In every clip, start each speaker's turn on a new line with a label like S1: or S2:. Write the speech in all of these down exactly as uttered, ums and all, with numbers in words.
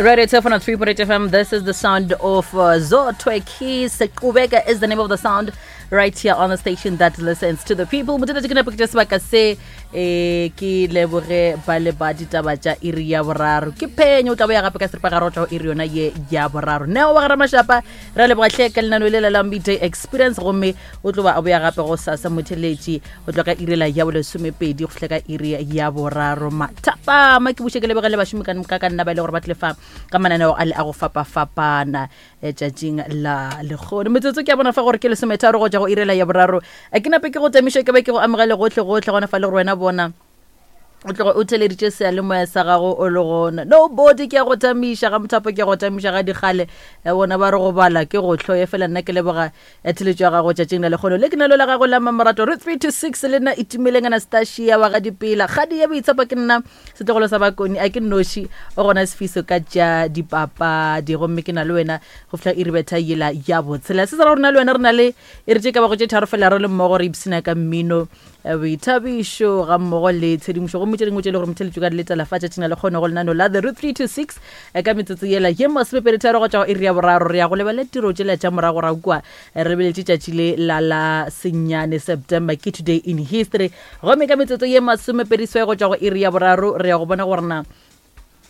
S1: Radio Turf on three point eight F M. This is the sound of uh, Zotwe Keys. Kubeka is the name of the sound right here on the station that listens to the people. Motho ke nepo ke sebaka se eh ke leboge ba le ba ditaba tša iri ya boraro. Ke phenyo o tla boya gape ka seripagare go tšwa go iri yona ye ya boraro. Neo wa ga Ramashapa re leboga hle ka lenaneo le la Midday Experience, gomme o tlo ba a boya gape go sasa motheletši go tloga ka iri la ya bolesomepedi go fihla ka iri ya boraro. Mathapama ke buše ke leboge le bašomi ka ka ka nna ba e le gore ba tle fa ka mananeo a le a go fapafapana tšatšing la lekgono. Metsotso ke a bona fa gore ke lesometharo go tšwa go irela ya boraro. A ke nape ke go tamiše ke be ke go amogele gohle gohle gona fa le gore wena bona o tloga o theleditše seyalemoya sa gago o le gona. Nobody ke a go tamiša ga mothapo, ke a go tamiša ga dikgale. Bona ba re go bala ke go hloye fela. Nna ke leboga theletšo ya gago tšatšing la lekgono. Le ke nalo la gago la Mamorato re three to six le nna Itumeleng Anastasia wa ga Dipela. Kgadi ya boitshepo ke nna setlogolo sa Bakoni, a ke nnoši o gona sefiso ka tša dipapadi, gomme ke na le wena go fihla iri betha yela ya botshela. Se se ra gore na le wena re na le e re tše ka bago tše tharo fela re le mmogo re ipshina ka mmino, boithabišo ga mmogo le tshedimošo, gomme tše dingwe tše le gore motheletšo ka di letela fa tšatšing la lekgono go lenaneo la The Root three to six ka metsotso yela ye masomepedi tharo go tšwa go iri ya boraro. Re ya go lebelela tiro tšela tša moragorago kua, re lebeletše tšatši le la la senyane September, ke Today in History. Gomme ka metsotso ye masomepedi seswai go tšwa go iri ya boraro re ya go bona gore na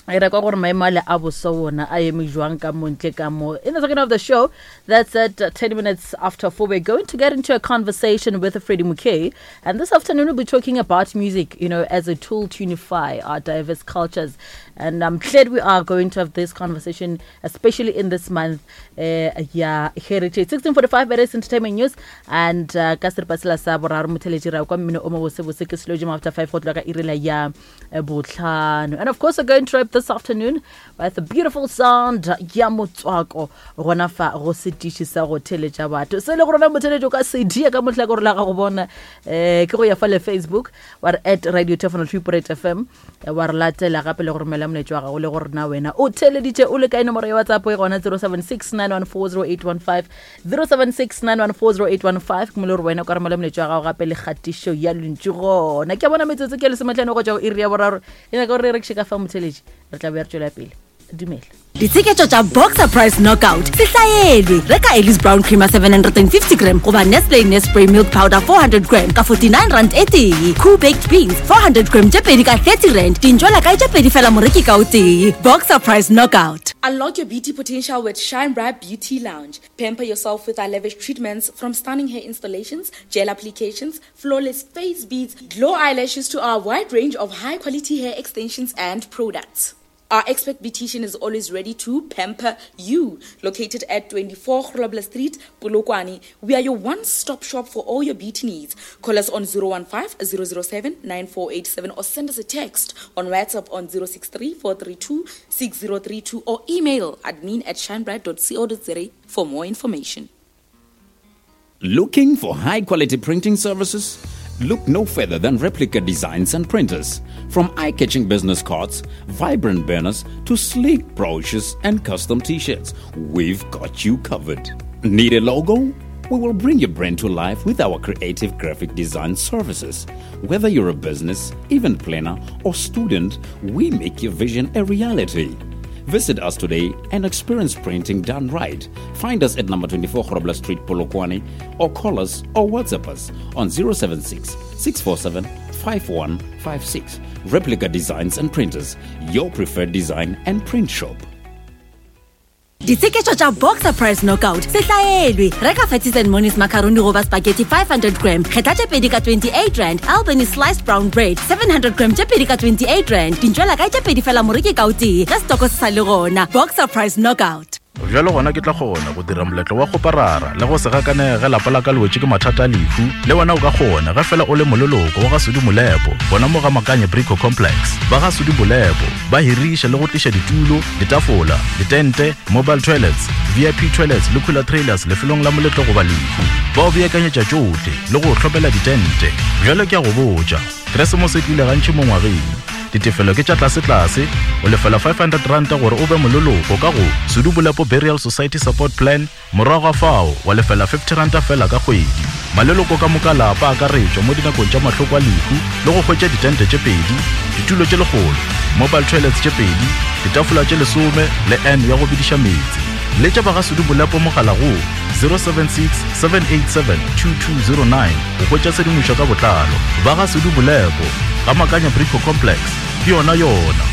S1: e re kwa gore maemo ale a boso wona a eme jwang ka montle ka mo. In the second half of the show, that's at ten minutes after four, we're going to get into a conversation with Freddie Mukay, and this afternoon we'll be talking about music, you know, as a tool to unify our diverse cultures. And I'm glad we are going to have this conversation, especially in this month, uh, yeah, Heritage. sixteen forty-five, it is Entertainment News, and uh, ka seripa sela sa boraro motheletši ra kwa mmino o mo bosebose ke slow jam after five go tloga ka iri la ya botlhano. And of course, we're going to wrap this afternoon with a beautiful sound ya motswako gona fa go setiši sa go theletša batho. Se le go rona motheletšo ka C D ka mohlakore la gago bona eh ke go ya fa le Facebook wa re at Radio Turf three point eight F M wa re latela gape le go romela molaetša wa gago le gore na wena o theleditše o le kae. Nomoro ya WhatsApp e gona zero seven six nine one four zero eight one five, zero seven six nine one four zero eight one five. Ke mo le gore wena o ka romela molaetša wa gago gape le kgatišo ya lentšu gona. Ke a bona metsotso ke lesometlhano go tšwa go iri ya boraro. E nyaka gore re rekiše ka fa motheletši, re tla boya re tšwela pele. Dumela.
S2: Ditsheketšo tša Boxer Price Knockout se hlaelwe. Reka Ellis Brown Creamer seven hundred and fifty gram goba Nestle Nespray Milk Powder four hundred gram ka forty-nine rand e tee. Cool Baked Beans four hundred gram tše pedi ka thirty rand. Dintšwela kae tše pedi fela moreki ka o tee. Boxer Price Knockout.
S3: Unlock your beauty potential with Shine Bright Beauty Lounge. Pamper yourself with our lavish treatments, from stunning hair installations, gel applications, flawless face beads, glow eyelashes to our wide range of high-quality hair extensions and products. Our expert beautician is always ready to pamper you. Located at twenty-four Grobler Street, Polokwane, we are your one-stop shop for all your beauty needs. Call us on zero one five, zero zero seven, nine four eight seven or send us a text on WhatsApp on zero six three, four three two, six zero three two or email admin at shinebright dot co dot za for more information.
S4: Looking for high-quality printing services? Look no further than Replica Designs and Printers. From eye-catching business cards, vibrant banners, to sleek brochures and custom t-shirts, we've got you covered. Need a logo? We will bring your brand to life with our creative graphic design services. Whether you're a business, event planner, or student, we make your vision a reality. Visit us today and experience printing done right. Find us at number twenty-four Grobler Street, Polokwane, or call us or WhatsApp us on zero seven six, six four seven, five one five six. Replica Designs and Printers, your preferred design and print shop.
S2: Ditsheketšo tša Boxer Price Knockout se hlaelwe. Reka Fatties and Monies macaroni goba spaghetti five hundred gram, kgetha tše pedi ka twenty-eight rand. Albany sliced brown bread seven hundred gram tše pedi ka twenty-eight rand. Dintšwela kae tše pedi fela moreki ka o tee, ge setoko se sa le gona. Boxer Price Knockout.
S5: Bjalo gona ke tla kgona go dira moletlo wa kgoparara le go se gakane ge lapa la ka le wetše ke mathata a lehu. Le wena o ka kgona ge fela o le moleloko wa ga Sudi Molepo, gona mo ga Makanye Brico Complex. Ba ga Sudi Molepo ba hiriša le go tliša ditulo, ditafola, ditente, mobile toilets, V I P toilets le cooler trailers lefelong la moletlo goba lehu. Ba o beakanyetša tšohle le go o hlopela ditente. Bjalo ke a go botša, Keresemose e tlile gantši mo ngwageng. Ditefelo ke tša tlasetlase, o lefela five hundred ranta gore o be moleloko ka go Sedubolepo Burial Society Support Plan, morago ga fao wa lefela fifty ranta fela ka kgwedi. Maleloko ka moka lapa akaretšwa mo dinakong tša mahloko a lehu le go hwetša ditente tše pedi, ditulo tše lekgolo, mobile toilets tše pedi, ditafola tše lesome le N ya go bidiša meetse. Letša ba ga Sedubolepo mogala go zero seven six seven eight seven two two zero nine go hwetša tshedimošo ka botlalo. Ba ga Sedubolepo ga Makanya Brico Complex ke yona yona.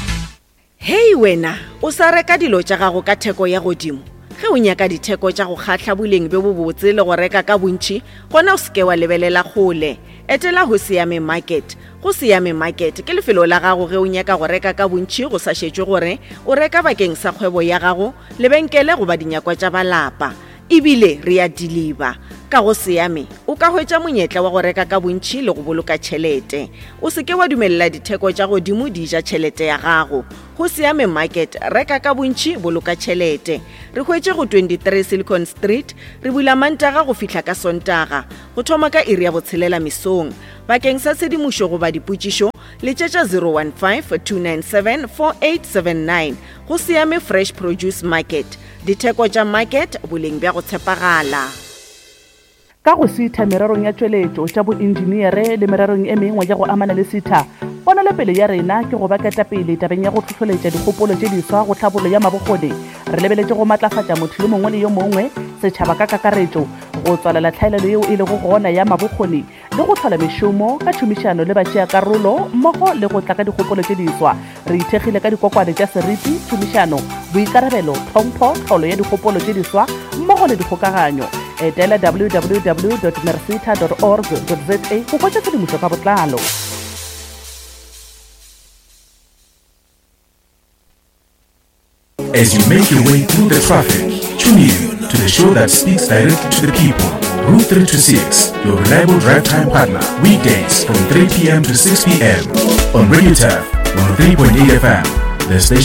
S6: Hei wena, o sa reka dilo tša gago ka theko ya godimo. Ge o nyaka ditheko tša go kgahla boleng bjo bobotse le go reka ka bontši, gona o seke wa lebelela kgole. Etela go Siame Market. Go Siame Market ke lefelo la gago ge o nyaka go reka ka bontši go sa šetšwe gore o reka bakeng sa kgwebo ya gago, lebenkele goba dinyakwa tša balapa. Ebile re a deliver. Ka go Siame o ka hwetša monyetla wa go reka ka bontši le go boloka tšhelete. O seke wa dumelela ditheko tša godimo di ja tšhelete ya gago. Go Siame Market, reka ka bontši, boloka tšhelete. Re hwetše go twenty-three Silicon Street, re bula Mantaga go fihla ka Sontaga, go thoma ka iri ya botshelela mesong. Bakeng sa tshedimošo goba dipotšišo, letšetša zero one five two nine seven four eight seven nine. Go Siame Fresh Produce Market. Ditheko tša market, boleng bja go tshepagala.
S7: Ka go sitha mererong ya tšweletšo tša boenjiniere le mererong e mengwe ya go amana le sitha, ponelopele ya rena ke go ba ketapele tabeng ya go hlohloletša dikgopolo tše diswa go tlhabollo ya mabokgoni. Re lebeletše go matlafatša motho yo mongwe le yo mongwe, setšhaba ka kakaretšo, go tswalela tlhaelelo yeo e lego gona ya mabokgoni le go hlola mešomo ka tšhomišano le batšeakarolo mmogo le go tla ka dikgopolo tše diswa. Re ithekgile ka dikokwane tša seriti, tšhomišano, boikarabelo, tlhompho, tlholo ya dikgopolo tše diswa mmogo le dikgokaganyo. Etela w w w dot mercita dot org dot z a go hwetša tshedimošo ka botlalo.
S8: As you make your way through the traffic, tune in to the show that speaks directly to the people. Route three to six, your reliable drive time partner, weekdays from three p m to six p m on Radio Turf one oh three point eight F M, the station